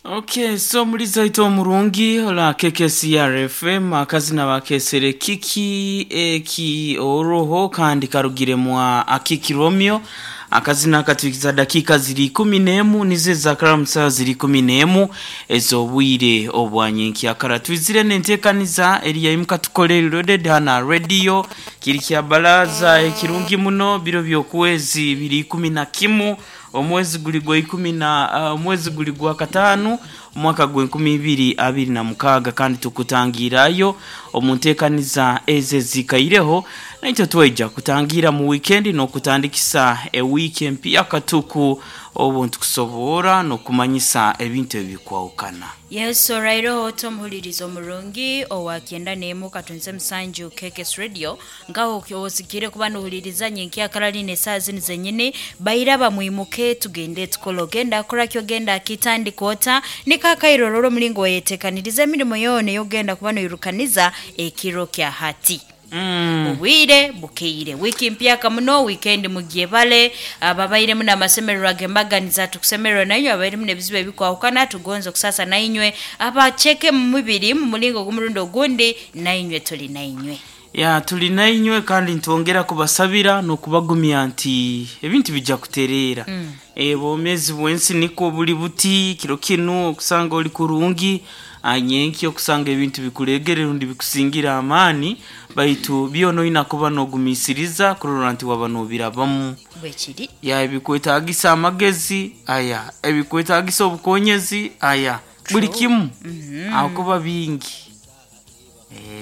Okay, so muri zaito omurungi ola KKCR FM akazina bakesere kiki eki oroho kandi karugire mwa akiki Romeo akazina katwikiza dakika ziri 11 nize za karamsa ziri 11 ezobwire obwanyenki akara twizire nentekaniza eriya imuka tukole loaded hana radio kiri kya baraza ekirungi muno biro byokwezi biri 11 omwezi guli gwa ikumi na omwezi guli gwa katano omwaka gwa 2026 kandi tukutangirayo omuntekaniza eze zikaireho naitwe tweja kutangira mu weekend nokutandikisa ewiki empya katuku obu ntukusobora nokumanyisa ebintu ebikwawukana. Yes, olwaireho tomuhuliriza omurungi owa kyenda n'emu katunze musanju KKS Radio ngaho osikire kuba nohuliriza nyenki akarali n'esaaha zinu zenyini baira bamwimuke tugende tukole ogenda akoraki ogenda akitandika ota nikakairorora omulingo weyetekaniriza emirimo yoona eyogenda kuba noirukaniza ekiro kya hati. Obwire bukeire wiki mpyaka muno weekend mugyebale ababairemu n'amasemererwa gembaganiza tukusemererwa nainywe abairemu n'ebizibu ebikwahukana tugonza okusasa nainywe abacheke mu mubiri mu mulingo gw'omurundi ogundi nainywe tuli nainywe. Ya tuli nainywe kandi ntwongera kubasabira nokubagumya nti ebintu bijja kutereera. Obwomeezi bw'ensi niko buli buti kiro kinu okusanga oli kurungi anyenki okusanga ebintu bikuregere rundi bikusingira amaani baitu byona oyina kuba nogumisiriza kurora nti waba nobirabamu. Bwekiri. Ya ebikwetagisa amagezi aya ebikwetagisa obukonyezi aya buli kimu ahakuba bingi.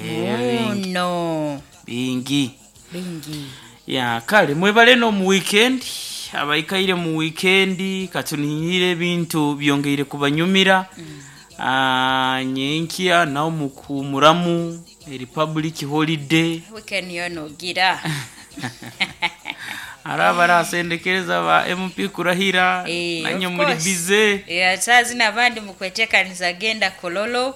Bingi. Muno. Bingi. Bingi. Ya kale mwebale no mu weekend abaikaire mu weekend katunihire ebintu byongeire kubanyumira. Nyenkya nawo mukuhumuramu republic holiday. Weekend yoona ogira. Hari abarasendekereza ba MP kurahira nanye Of muri course. bize. Saa zino abandi mukwetekaniza genda kololo.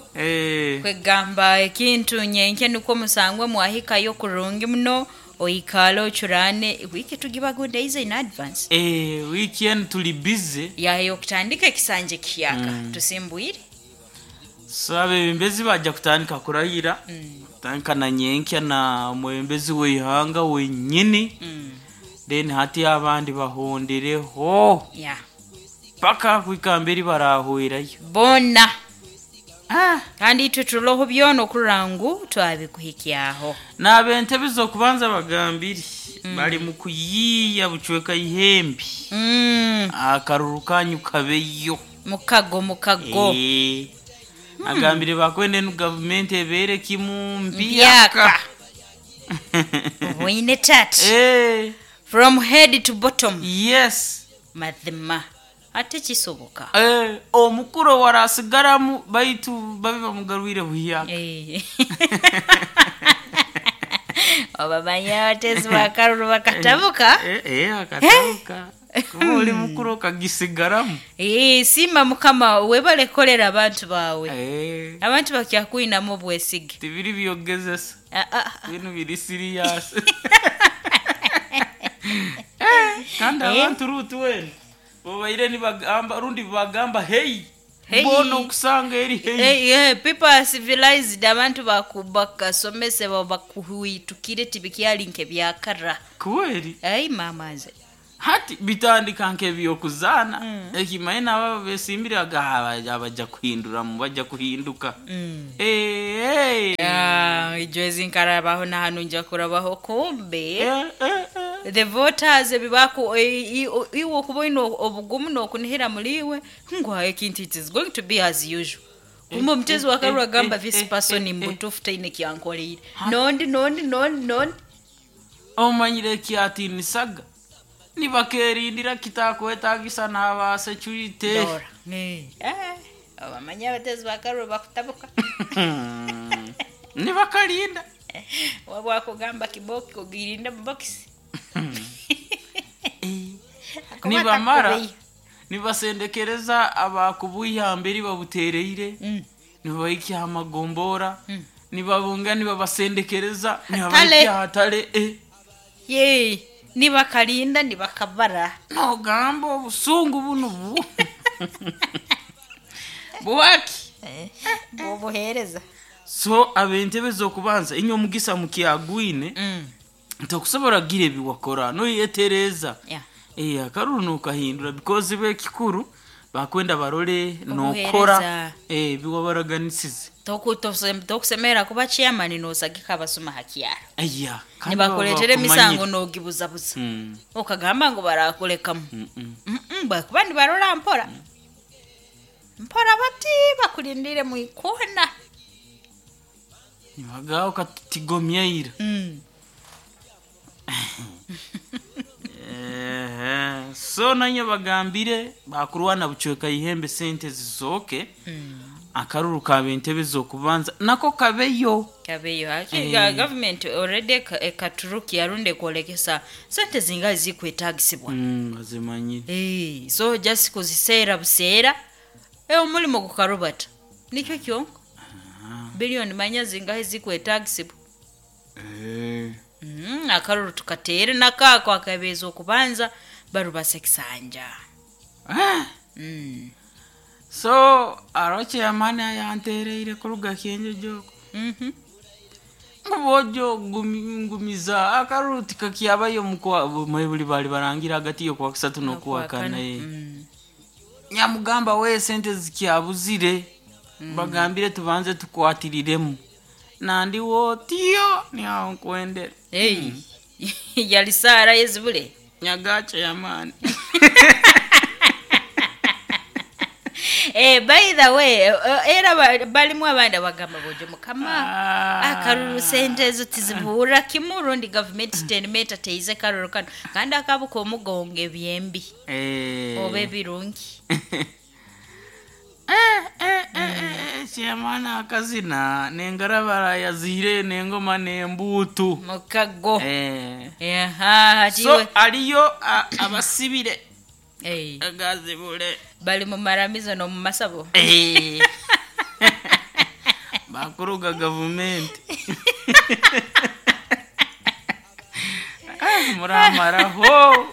Kwegamba ekintu nyenke nukwo musangwe mwahikayo kurungi muno oikale ocurane wiki tugibagundeize in advance. Weekend tuli bize. Yayo okutandika ekisanje kiyaka tusimbwire. So abebembezi bajja kutandika kurahira. Kutandika na nyenkya na omwebembezi w'eihanga wenyini. Then hati abandi bahondereho. Paka kwikamba eri barahwerayo. Bona. Kandi itwe turoho byona okurora ngu twabikuhikyaho. N'ab'entebe z'okubanza bagambire bari mu kuyiiya bucweka ihembe. Akaruru kanyu kabeyo. Mukago mukago. Agambire bakwende nu gavumenti ebeere kimu Mbyaka. mbyaka. Obwine tati. From head to bottom. Yes. Mazima. Ate kisoboka. Omukuru warasigaramu baitu babe bamugarwire buhyaka. Obamanya abatezi bakaruru bakatabuka. Akatabuka. Kuba oli mukuru okagisigaramu. Siima mukama webale kukolera abantu baawe. Abantu bakyakwinamu obwesige. Tibiri byogezesa. Binu biri serious. Kandi abantu rutu wena bobaire nibagamba rundi bagamba hey. Hey. Mbona okusanga eri hey. Hey, people are civilized abantu bakasomesebwa bakuhwitukire tibikyali nkebyakara. Kweri. Ai mama nze. Hati bitandika nk'ebyokuzaana. Ekimaye nabo besimbire abajja kuhinduramu bajja kuhinduka. Ijwezi nkarabaho na hanu nja kurabaho kumbe. The voters ebibaku iwe okuba oyine obugumu n'okunihira muri iwe ngu ekintu it is going to be as usual. Kumbe omutezi wa karuru agamba this person mbutuufu taine kyankoreire. Nondi nondi nondi nondi. Omanyire ekyatinisaga nibakerindira kitakwetagisa n'aba security. Dora. Abamanya abatezi ba karuru bakutabuka. Nibakalinda. Wabwakugamba kiboki ogirinda mu bokisi. Nibamara nibasendekereza abakubuyamba eri babutereire. Nibabaikya amagombora. Nibabunga nibabasendekereza nibabaikya hatale. Ye nibakalinda nibakabara. Nogamba obusungu bunu bu. Bwaki? Bwobuheereza. So ab'entebe z'okubanza inywe omugisa mukyagwine, ntokusobora kugira ebi wakora noyetereza. Akaruru nokahindura because bo ekikuru bakwenda barole nokora Obuheereza. ebi wabaraganisize. Tokusemerera kuba chairman nosagika abasuma hakyara. Aya, kandi Nibakuleetera baba emisango bakumanyire. nogibuzabuza. Okagamba ngu barakulekamu. Bakuba nibarora mpora. Mpora bati bakulindire mwikona. Nibagaho katutigomyeira. Ehe, so nanye bagambire bakurwana bucweka ihembe sente zizooke. Akaruru kaba entebe z'okubanza nako kabeyo. Kabeyo haki government already ekaturuki yarundi ekwolekesa sente zinga zikwetagisibwa. Bazimanyire. So just kuziseera buseera, omulimo gukarubata nikyo kyonka. Biliyoni manya zingahe zikwetagisibwa. Akaruru tukateere nakaako akabeeza okubanza barubasa ekisanja. So aro chairman ayantereire kuruga kyenjejoko. Bojo ngumiza akaruru tikakyabayo mukwa mwebuli bali barangira hagati y'okwa kusatu n'okwa kana. Nyamugamba we sente zikyabuzire. Bagambire tubanze tukwatiriremu. Nandi wotio niaho nkwendera. Hey. Yali saara yezibule. Nyaga chairman. By the way, era balimu abandi abagamba bojo mukama akaruru sente ezo tizibuura kimu rundi gavumenti tenimeta teize karuru kano kandi akabuka omugongo ebyembi oba ebirungi. Chairman akazina nengarabara yazire nengoma nembuutu. Mukago. Aha, hati So iwe aliyo abasibire agazibule. Bali mu maramizo n'omu masabo. Bakuruga gavumenti. Muramaraho.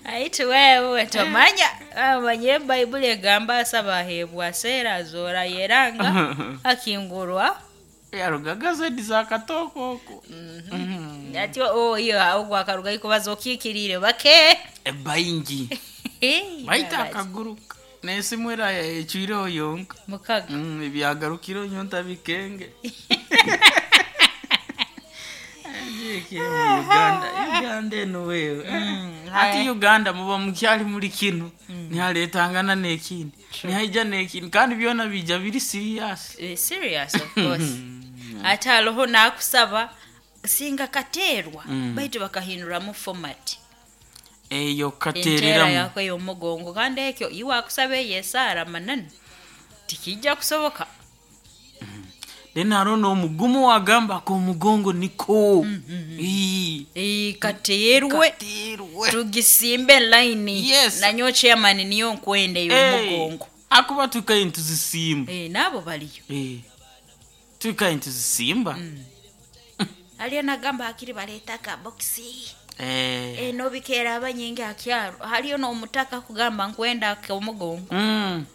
Aitu wewe tomanya amanye Bayibuli egamba asaba aheebwa aseera azoora yeranga akingurwa. Yarugaga zedi za katoko oko. Ati iyo ogwo akaruga ikubaza okiikiriire bake. Baingi baita akaguruka nesimu era ecwireho yonka. Mukaga. Ebyagarukire nyonta bikenge. Mu Uganda, Uganda eno wewe. Ati Uganda muba mukyali muri kino nihaletangana n'ekindi nihaija n'ekindi kandi byona bija biri serious. Serious of course. Ate hariho nakusaba singa kateerwa baitu bakahinduramu format. Eyo Enteera kateereramu. yako ey'omugongo kandi ekyo iwe akusaba eyo esaara mananu tikijja kusoboka. Then hariho n'omugumu wagamba ak'omugongo niko. Ii. Kateerwe. Kateerwe. Tugisimbe line. Yes. Nanyo chairman niyo nkwenda ey'omugongo. Akuba tukaye nituzisimba. Naabo baliyo. Tukaye nituzisimba. Aliyo nagamba hakiri baleeta akabokisi. Nobikeera abanyingi akyaro haliyo n'omutaka kugamba nkwenda ak'omugongo.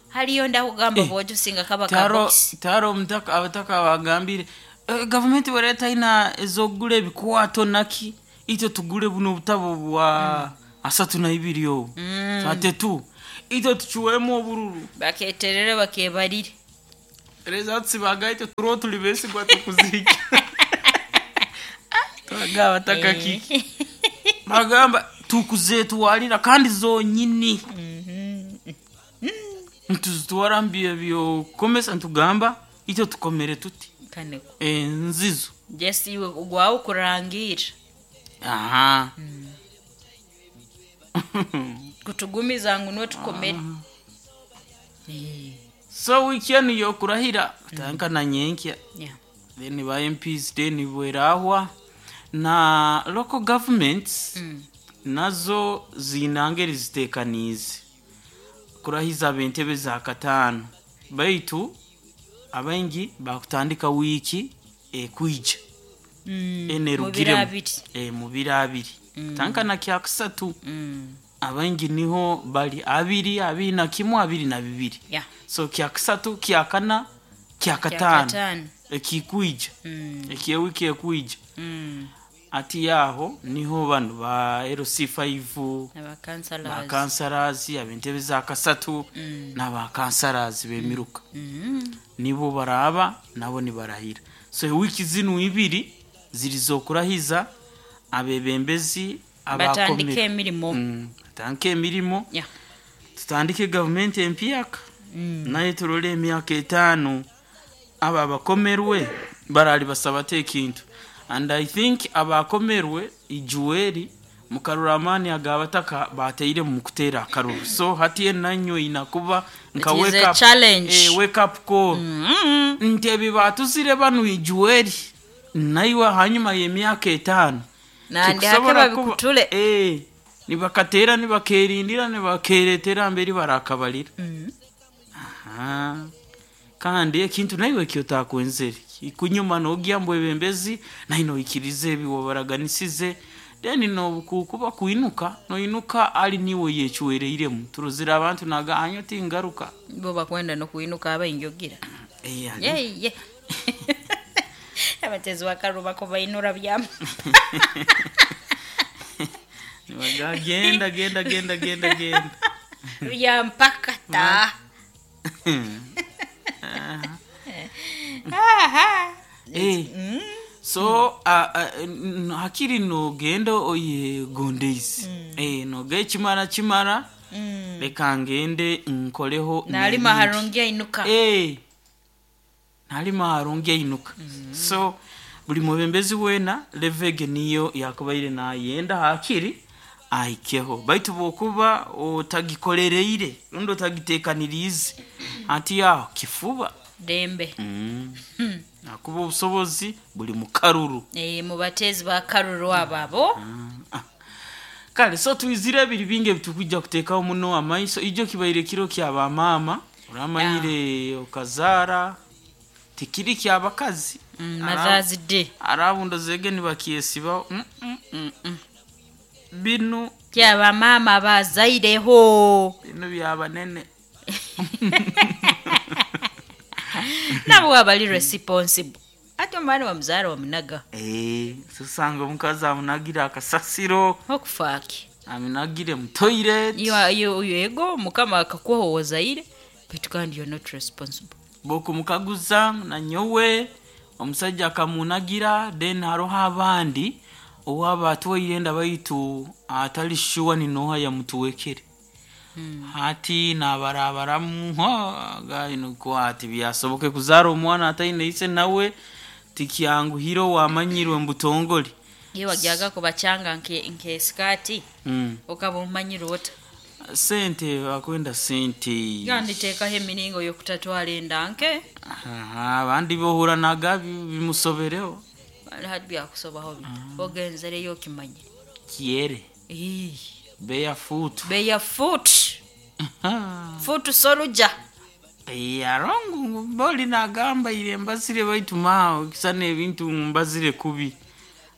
Haliyo ndakugamba bwojo singa kaba kabokisi. Taro omutaka abataka bagambire gavumenti wereta ina ezokugura ebikwato naki itwe tugure buno obutabo bwa 32 obu. 32 itwe tucuwemu obururu. Baketerere bakebarire. Results bagaite turo tuli besigwa tukuzika. Twagaba bataka kiki. Bagamba tukuzetwalira kandi zonyini. Ntuzitwara mbye byokomesa ntugamba itwe tukomere tuti. Kaneko. Nzizo. Jesi iwe gwawo kurangira. Aha. Kutugumiza ngu niwe tukomere. So weekend yokurahira tanka na nyenkya. Then ba MPs then bwerahwa na local governments nazo zinangeri zitekanize kurahiza ab'entebe za katano baitu abaingi bakutandika wiki ekwija. Enerugiremu. Mu biro abiri. Mu biro abiri. Tanka na kyakusatu. Abaingi niho bali abiri, 21, 22. Yeah. So kyakisatu, kyakana, kyakataano Kyakataano. ekikwija ekyewiki ekwija. Ati aho niho bano ba LC5, Abakansalazi. bakansarazi ab'entebe za kasatu n'abakansarazi b'emiruka nibo baraba nabo nibarahira. So ewiki zinu ibiri ziri z'okurahiza abebembezi Batandike abakomere. emirimo. Batandike emirimo. Yeah. Tutandike gavumenti empyaka naye turole emyaka 5 abo abakomerwe barali basaba ekintu. And I think abakomerwe ijuweri mukarura amaani agabataka bateire mu kuteera akaruru. So hati enanyo inakuba nka It is wake a up, challenge. Wake up call nti ebi batuzire banu ijuweri naiwe hanyuma y'emyaka 5 Nandi hake tikusobola kuba- babikutule. Nibakateera nibakerindira nibakeretera mberi barakabalira. Aha. Kandi ekintu naiwe kyotakwenzere ikunyuma nogya mbu ebembezi naye noikiriza ebi wabaraganisize, then nobukukuba kwinuka noinuka ali niwe yechuwereiremu turuzira abantu naga anyo tingaruka. Bo bakwenda nokuinuka abainjogira. Ali. Yeye. Abatezi bakaruba ko bainura byama. Nibaga genda genda genda genda genda. Byampaka ta. Aha. So hakiri nogenda oyegondeise noga ekimara kimara, leka ngende nkoleho Nalima n'ebindi. harungi ainuka. Nalima harungi ainuka. So buli mubembezi weena levege niyo yakubaire nayenda hakiri ahikeho, baitu bwokuba otagikolereire rundi otagiteekaniriize ati aho kifuba. Dembe. Akuba obusobozi buli mu karuru. Mubatezi ba karuru abo. Kale so twizire ebiri bingi ebitukujja kuteekaho muno amaiso. Ijo kibaire kiro kya bamaama, oramanyire okazaara tikiri kyabakazi. Mothers Day. Arabundo zege nibakyesibaho. Binu Kya bamaama bazaireho. Binu byabanene. Nabo abali responsible. Ate omwana wamuzaara wamunaga. Sosanga omukazi amunagira akasasiro. Okufaaki. Amunagire mu toilet. Yego mukama akakuha owazaire, but kandi you're not responsible. Bokumukaguza nanyowe omusajja akamunagira, then haroho abandi owaba atwaire enda baitu atali sure ni noha yamutuwekere. Hati nabarabaramu nuko ati byasoboke kuzaara omwana ataine ise nawe tikyanguhire owamanyirwe mbutongole. Ye wagyaga kubachanga nke skati. Okaba omanyire ota. Sente bakwenda sente. Yanditeekaho emiringo y'okutatwala enda nke. Abandi bohuranaga bimusobereho. Hati byakusobaho bita. Ogenzereyo okimanyire. Kiere. Barefoot. Barefoot. Foot soldier. Arongu boli nagamba ile mbazire baitu mao kisana ebintu mbazire kubi.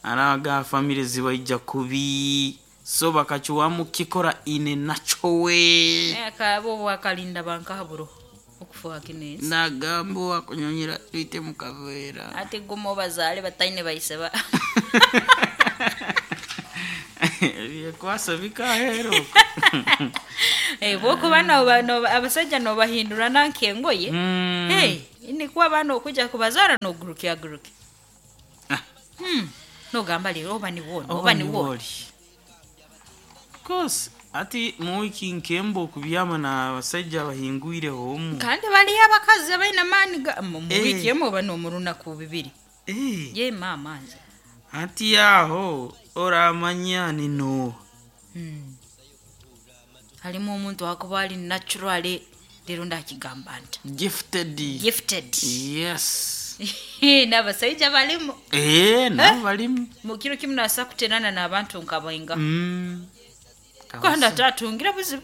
Araga family zibaija kubi. So bakachuwamu kikora ine nachowe. Akabo wakalinda banka haburo. Okufuha kinesi. Nagambo wakunyonyera twite mukavera. Ate gumo bazale bataine baiseba. Byekwasa bikahero. Bwokuba abasajja nobahindura nankengoye. Nikuwa bano okuja kubazara noguruke aguruke. Nogamba lero oba niwona, oba niwona. Course, ati muwiki nkembo okubyama n'abasajja abahingwireho omu. Kandi baliyo abakazi abaine amaani mu wiiki emwe oba n'omurunaku bibiri. Ye maama nze. Ati aho oramanya nino. Halimu omuntu akuba ali naturally leero ndakigamba nti. Gifted. Gifted. Yes. N'abasajja balimu. Nabo balimu. Mu kiro kimu naasa kuterana n'abantu nkabainga. Kandi atatungira buzibu.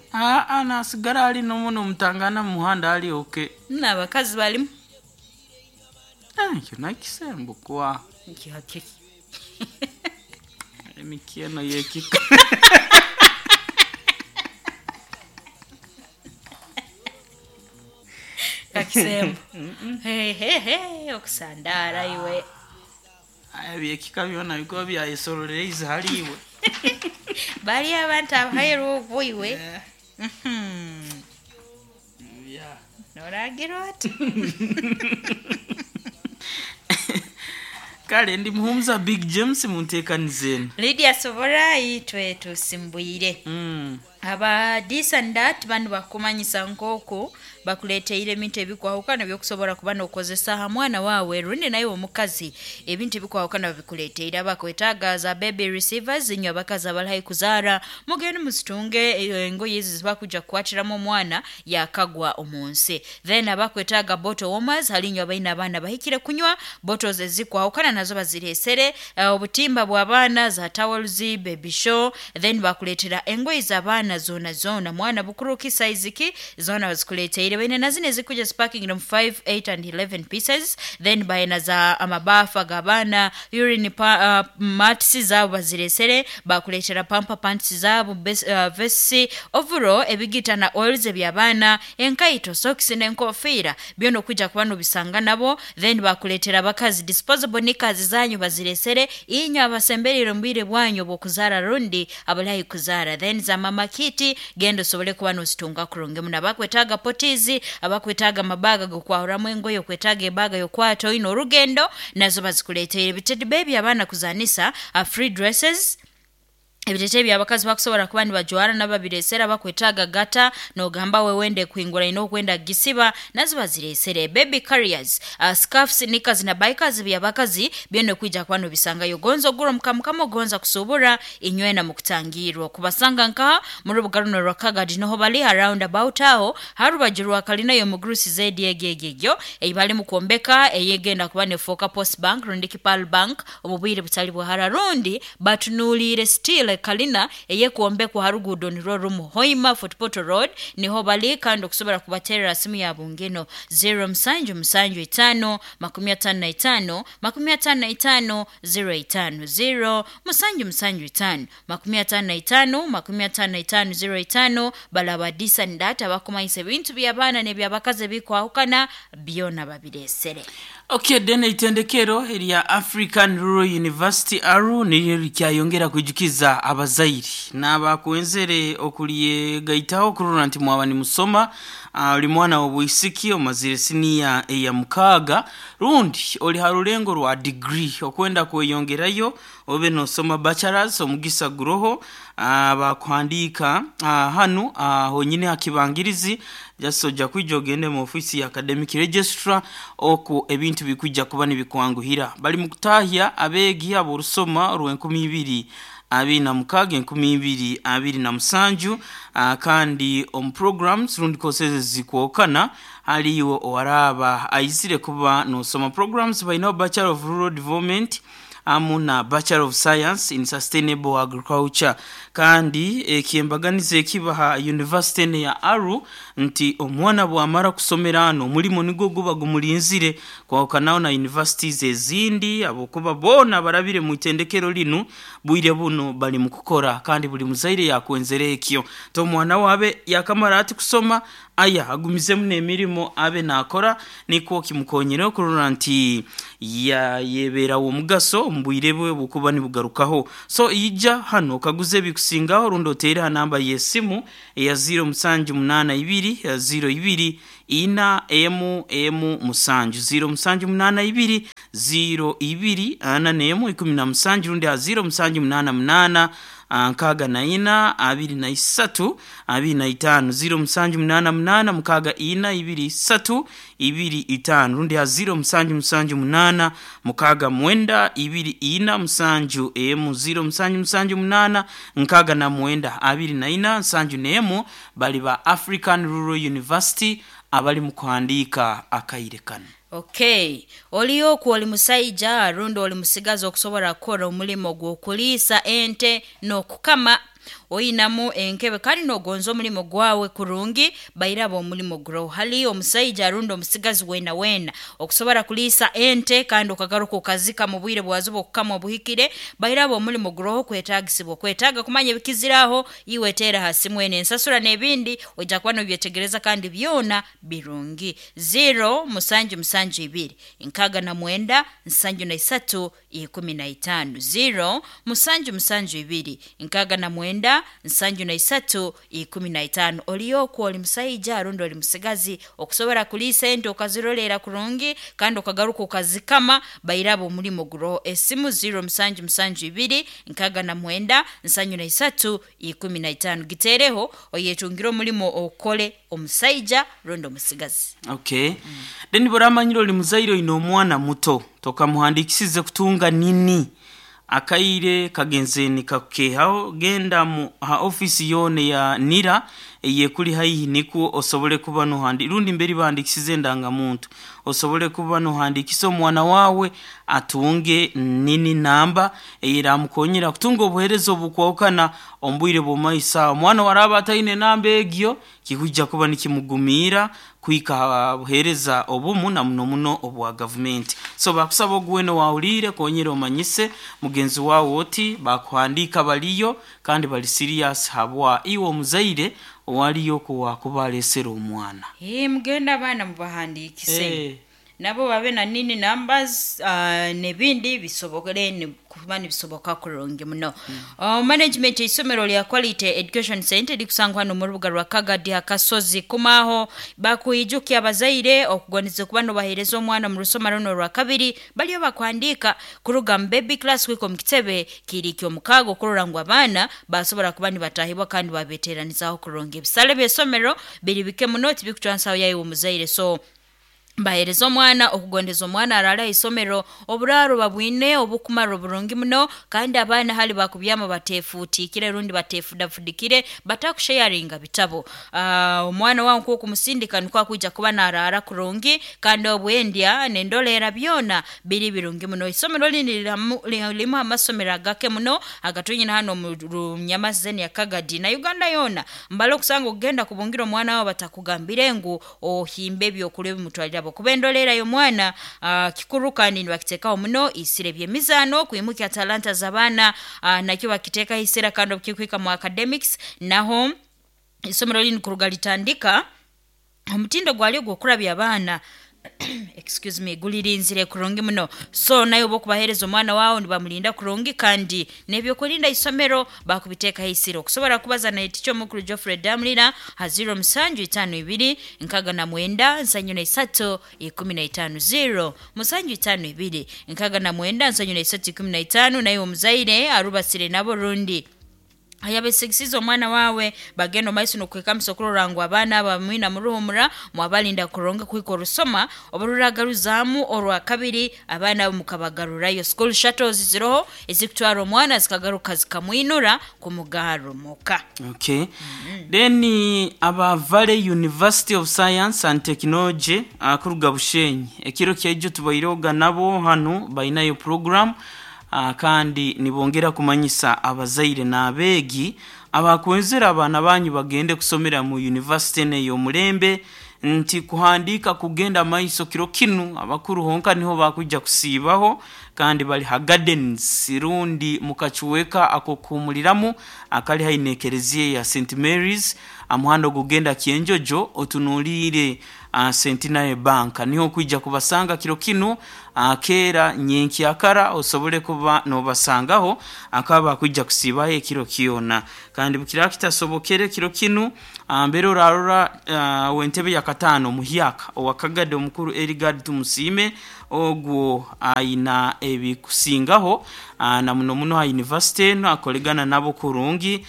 Nasigara ali nomu nomutangana mu muhanda ali okay. N'abakazi balimu. Ekyo nakisembo kwa. Nkihakiki. Emikyeno yekika. Kakisembo. Hehehe, okusandara iwe. Aya byekika byona bikuba byayesororeize hali iwe. Bali abantu abahairwe okwo iwe. Eh, yeah. Noragira oti? Kale ndi muhumuza Big James munteekaniza eno. Lydia Sobora itwe tusimbwire. Aba this and that banu bakumanyisa nk'oku bakuleteire ebintu ebikwahukana byokusobora kuba nokozesa ha mwana wawe rundi naye omukazi ebintu ebikwahukana babikuleteire. Abakwetaaga za baby receivers, inywe abakazi abali haihi kuzaara mugende muzitunge engoye ezi zibakuja kukwatiramu omwana yakagwa omu nsi. Then abakwetaaga bottle warmers, hali inywe abaine abaana bahikire kunywa bottles ezikwahukana nazo baziresere, obutimba bw'abaana, za towels, baby show. Then bakuleetera engoye z'abaana zona zona, mwana bukuruki size ki zona bazikuleteire. Baine na zino ezikuja zipakingira mu 5, 8 and 11 pieces. Then baina za amabafa g'abaana, urine mats zabo baziresere, bakuleetera pampa pants zabo, vests, overall ebigita na oils eby'abaana, enkaito, socks n'enkofiira byona okuja kuba nobisanga nabo. Then bakuleetera abakazi disposable knickers zanyu baziresere, inywe abasemberire omu bwire bwanyu obw'okuzaara rundi abali kuzaara. Then za mama kiti genda osobole kuba nozitunga kurungi muno. Abakwetaaga potizi, abakwetaaga amabaga g'okwahuramu engoye, okwetaaga ebaga y'okwata oine orugendo nazo bazikuleteire. Bitedi baby abaana kuzanisa, free dresses, ebitete by'abakazi bakusobora kuba nibajwara n'ababiresera. Bakwetaaga gata nogamba we wende kuhingura ine okwenda gisiba nazo baziresere. Baby carriers, scarfs, knickers na bikers by'abakazi byona kwija kuba nobisangayo. Gonza ogura omukamukama, ogonza kusubura inywena mukutangirwa kubasanga nkaha muri bugaruno rwa Kagadi noho bali around about aho harubaju rwa kalina y'omugurusi zedi egegegyo eyi bali mukwombeka eyegenda kuba nefoka Post Bank rundi Kipal Bank omu bwire butali bwahara, rundi batunuliire still kalina eyekwombekwa harugudo nirwo rumu Hoima Fort Portal Road niho bali. Kandi okusobora kubaterera simu ya bungeno 0 musanju musanju 5 55 55 05, 0 musanju musanju 5 55 55 05. Balaba this and that abakumanyisa ebintu by'abaana n'ebyabakazi ebikwahukana byona babiresere. Okay, then itendekero erya African Rural University ARU niryo rikyayongera kwijukiza abazairi n'abakwenzere okulyegaitaho kurora nti mwaba nimusoma, oli mwana w'obwisiki omazire siniya eya 6 rundi oli ha rulengo rwa degree okwenda kweyongerayo obe nosoma bachelors, omugisa guroho. Bakuhandiika hanu honyine hakibangirizi just ojja kwija ogende mu ofisi ya academic registrar oku ebintu bikwijja kuba nibikwanguhira. Bali mu kutahya abeegi ab'orusoma orw'e 2026, 2027, kandi omu programs rundi courses zikwokana haliyo owaraba aizire kuba nosoma programs bainaho Bachelor of Rural Development amu na Bachelor of Science in Sustainable Agriculture. Kandi ekyembaganiza ekibaha university eno ya ARU nti omwana bwamara kusomera hano omulimo nigwo guba gumulinzire, kwahukanaho na universities ezindi abokuba boona barabire mu itendekero linu bwire buno bali mu kukora. Kandi buli muzaire yakwenzere ekyo nti omwana wabe yakamara ati kusoma aya agumizemu n'emirimo abe nakora, nikwo kimukonyere okurora nti yayeberawo omugaso omu bwire bwe bukuba nibugarukaho. So ija hano okaguza ebikusingaho rundi oteere ha namba y'esimu eya 0 musanju 8 2 0 2 4 emu emu 7, 0 musanju 8 2 0 2 4 1 17, rundi ha 0 musanju 8 8 64 23 25, 0 musanju 8 8 6 4 2 3 2 5, rundi ha 0 musanju musanju 8 6 9 2 4 7 emu, 0 musanju musanju 8 6 9 24 71. Bali ba African Rural University abali mu kuhandiika akaire kano. Okay, oliyoku oli musaija rundi oli musigazi okusobora kukora omulimo gw'okuliisa ente n'okukama. Oyinamu enkebe kandi nogonza omulimo gwawe kurungi, bairaba omulimo guroho. Hali omusaija arundi omusigazi wena wena okusobora kuliisa ente kandi okagaruka okazika mu bwire bwazo okukama obuhikire, bairaba omulimo guroho kwetagisibwa. Kwetaaga kumanya ebikiziraho, iwe teera ha simu eno ensasura n'ebindi ojja kuba nobyetegereza kandi byona birungi. 0 musanju musanju ibiri 69 73 15 0 musanju musanju ibiri 69 73 15. Oliyo okwo oli musaija rundi oli musigazi okusobora kuliisa ente okazirolera kurungi kandi okagaruka okazikama, bairaba omulimo guroho. Esimu 0 musanju musanju ibiri 69 73 15, giteereho oyetungire omulimo okole omusaija rundi omusigazi. Okay, then buramanyire oli muzaire oine omwana muto tokamuhandikisize kutunga nini, akaire kagenze nikakukehaho, genda mu ha ofisi yoona ya NIRA eyekuli haihi nikwo osobole kuba nohandi rundi mberi bahandikisize endangamuntu, osobole kuba nohandikisa omwana wawe atunge nini namba eyeramukonyera kutunga obuheereza obukwahukana omu bwire bw'omumaiso. Omwana waraba ataine namba egyo, kikwijja kuba nikimugumiira kuhika ha buheereza obumu na muno muno obwa gavumenti. So bakusaba ogu weena owahuriire, konyera omanyise mugenzi wawe oti bakuhandiika baliyo kandi bali serious habwa iwe omuzaire owaliyo kuwakuba alesere omwana. Mugende abaana mubahandiikise, nabo babe na nini numbers, n'ebindi bisobokere kuba nibisoboka kurungi muno. Management eisomero lya Quality Education Center erikusangwa hano mu rubuga rwa Kagadi Akasozi kumaho bakwijukya abazaire okugondeza kuba nobaheereza omwana mu rusoma runo orwa kabiri, baliyo bakuhandiika kuruga mu baby class kuhika omu kitebe kiri ky'omukaaga okurora ngu abaana basobora kuba nibatahibwa kandi babeteranizaaho kurungi. Ebisale by'eisomero biri bike muno, tibikucwa nsaho yawe omuzaire, so baheereza omwana okugondeza omwana araale aha isomero. Oburaaro babwine obukumara oburungi muno, kandi abaana hali bakubyama batefuutikire rundi batefudafudikire, batakusheyaringa bitabo. Omwana wawe nk'okumusindika nikwo akwija kuba naraara kurungi kandi obwendya n'endolera byona biri birungi muno. Isomero lini lirimu amasomero agake muno agatwine hano omu Runyamazeni ya Kagadi na Uganda yoona. Mbale okusanga okugenda kubungira omwana wawe batakugambire ngu ohimbe ebyokurya ebimutwarire abo kuba endolera y'omwana kikuru kandi nibakiteekaho muno isira. Eby'emizaano kwimukya talanta z'abaana, nakyo bakiteekaho isira, kandi obukikuhika mu academics naho isomero lini kuruga litandika omutindo gwalyo gw'okurabya abaana, excuse me, gulirinzire kurungi muno. So naye oba okubaheereza omwana wawe nibamulinda kurungi kandi n'ebyokurinda isomero bakubiteekaho isira. Okusobora kubaza na eticha omukuru Geoffrey Damulira ha 0 musanju itaano ibiri 69 73 15 0 musanju itaano ibiri 69 73 15. Naye omuzaire arubasire nabo rundi ayabesigisize omwana wawe, bagenda omumaiso n'okwekamisa okurora ngu abaana aba mwina muruhumura mwabalinda kurungi kuhika orusoma obururagaruzaamu orwa kabiri, abaana abo mukabagarurayo. School shuttles ziroho ezikutwara omwana zikagaruka zikamwinura kumugarra omuka. Okay, then aba Valley University of Science and Technology kuruga Bushenyi, ekiro kyaijo tubairehoga nabo hanu bainayo program, kandi nibongera kumanyisa abazaire n'abeegi abakwenzera abaana banyu bagende kusomera mu university eno ey'omulembe nti kuhandiika kugenda maiso kiro kinu. Abakuru honka niho bakwija kusiibaho kandi bali ha gardens rundi mukacuweka ak'okuhumuliramu akali haihi n'ekereziya ya St Mary's, amuhanda ogugenda Kyenjojo otunuliire Centenary Bank, niho okwija kubasanga kiro kinu keera nyenkyakara osobole kuba nobasangaho akaba bakwija kusiibaho ekiro kyona. Kandi bukiraba kitasobokere kiro kinu, mbere orarora w'entebe ya kataano muhyaka owa Kagadi omukuru Erigard Tumusiime, ogwo aina ebikusingaho na muno muno ha university eno akoregana nabo kurungi,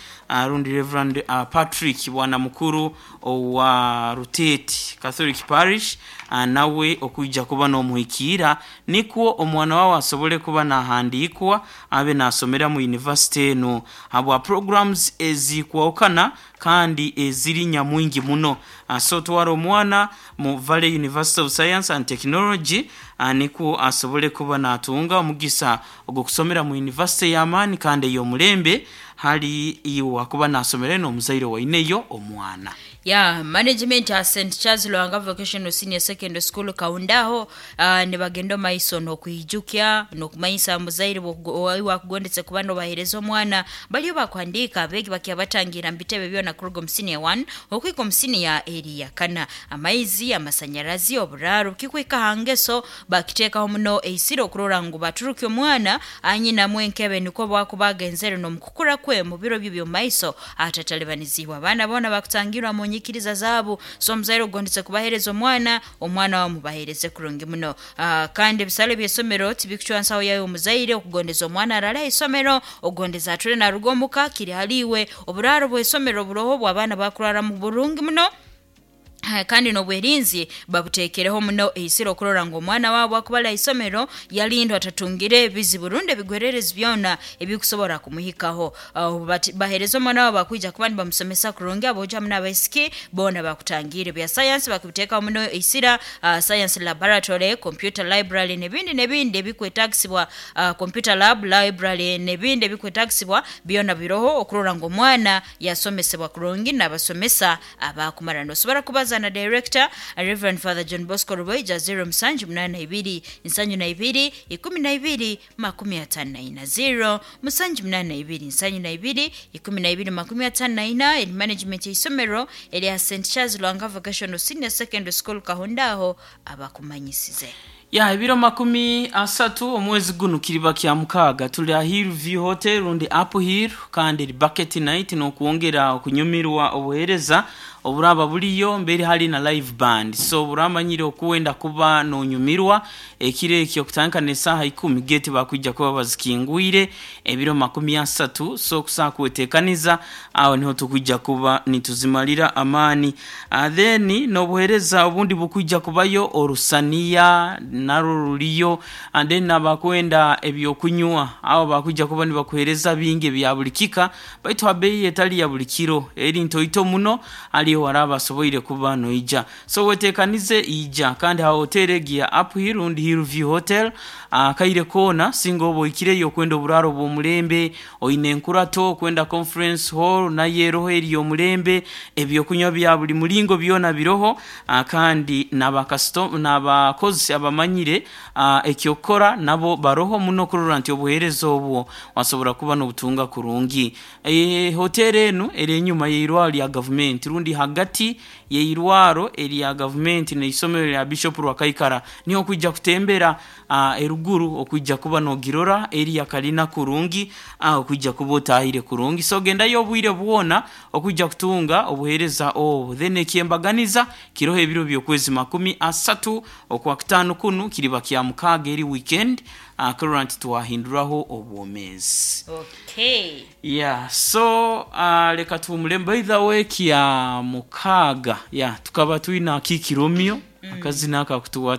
rundi Reverend Patrick bwana mukuru owa Ruteeti Catholic Parish, nawe okwija kuba n'omuhikiira nikwo omwana wawe asobole kuba nahandiikwa abe nasomera mu university eno habwa programs ezikwahukana kandi eziri nyamwingi muno. So twara omwana mu Valley University of Science and Technology, nikwo asobole kuba natunga omugisa ogw'okusomera mu university y'amaani kandi ey'omulembe. Hali iwe akuba nasomere n'omuzaire waineyo omwana. Ya management ya St Charles Lwanga Vocational Senior Secondary School Kaundaho, nibagenda omaiso n'okwijukya n'okumanyisa muzaire wakugondetse kuba nobahereza omwana. Baliyo bakuhandiika abeegi bakyabatangira mu bitebe byona kuruga omu senior 1 okwika omu senior eri yakana. Amaizi, amasanyarazi, oburaaro, kikwika hangeso bakiteekaho muno eisiro okurora ngu baturuke omwana anyinamu enkebe, nikwo bwakuba agenzere n'omukukura kwe mu biro bye by'omumaiso atatalibanizibwa. Abaana boona bakutangirwa mu nyikiriza zaabo, so omuzaire ogondetse kubahereza omwana, omwana wawe mubahereze kurungi muno. Kandi ebisale by'esomero tibikucwa nsaho yawe. Omuzaire okugondeza omwana arale aisomero, ogondeza ature naruga omuka, kiri haliiwe. Oburaaro bw'esomero buroho bw'abaana bakuraramu burungi muno, kandi n'obwerinzi babuteekereho muno eisiro okurora ngu omwana waabo akuba ari aisomero yalindwa, atatungire ebizibu rundi ebigwererezi byona ebikusobora kumuhikaho. Bahereza omwana wabo, bakwija kuba nibamusomesa kurungi. Aboojo hamu n'abaisiki boona bakutangiire. Bya sayansi bakubiteekaho muno eisira, science laboratory, computer library n'ebindi n'ebindi ebikwetagisibwa, computer lab, library n'ebindi ebikwetagisibwa byona biroho okurora ngu omwana yasomesebwa kurungi n'abasomesa abakumara. Nosobora kubaza na director, Reverend Father John Bosco Rubaija, 0782 72 12 54, 0782 72 12 54. Eri management y'isomero erya St Charles Lwanga Vocational Senior Secondary School Kahundaho abakumanyisize. Ya, ebiro 30 omwezi guno kiriba kya mukaaga, tuli aha Hillview Hotel rundi Apple Hill, kandi eri bucket night n'okwongera okunyumirwa obuheereza oburaba buriyo mbere hari na live band. So buramanyire okuwenda kuba nonyumirwa ekiro ekyo kutandika n'esaaha 10, gate bakwija kuba bazikingwire ebiro 30. So kusaa kwetekaniza aho niho tukwija kuba nituzimarira amaani. Then n'obuheereza obundi bukwija kubayo, orusaniya narwo ruriyo, and then abakwenda ebyokunywa abo bakwija kuba nibakuhereza bingi ebya buli kika, baitu ha bei etali ya buli kiro, eri ntoito muno aliyo waraba asoboire kuba noija. So wetekanize, ija kandi ha hoteri egi ya Uphill rundi Hillview Hotel akaire koona. Singa oba oikireyo okwenda oburaaro bw'omulembe, oine enkurato, okwenda conference hall nayo eroho eri omulembe, ebyokunywa bya buli mulingo byona biroho, kandi n'abakozi abamanyire ekyokukora nabo baroho muno kurora nti obuheereza obwo wasobora kuba n'obutunga kurungi. Hoteri enu eri enyuma y'eirwaro lya gavumenti rundi hagati y'eirwaro erya gavumenti n'eisomero lya Bishop Rwakaikara, niho okwija kutembera eruguru okwija kuba nogirora eri akalina kurungi, okwija kuba otahire kurungi. So gendayo obwire bwona okwija kutunga obuheereza obu. Then ekyembaganiza kiroho ebiro by'okwezi 30 okwakutaano kunu kiriba kya mukaaga, eri weekend, kurora nti twahinduraho obwomeezi. Yeah, so leka tuhumule. By the way, kya mukaaga, yeah, tukaba twina Kiki Romeo, akazina akakutuwa.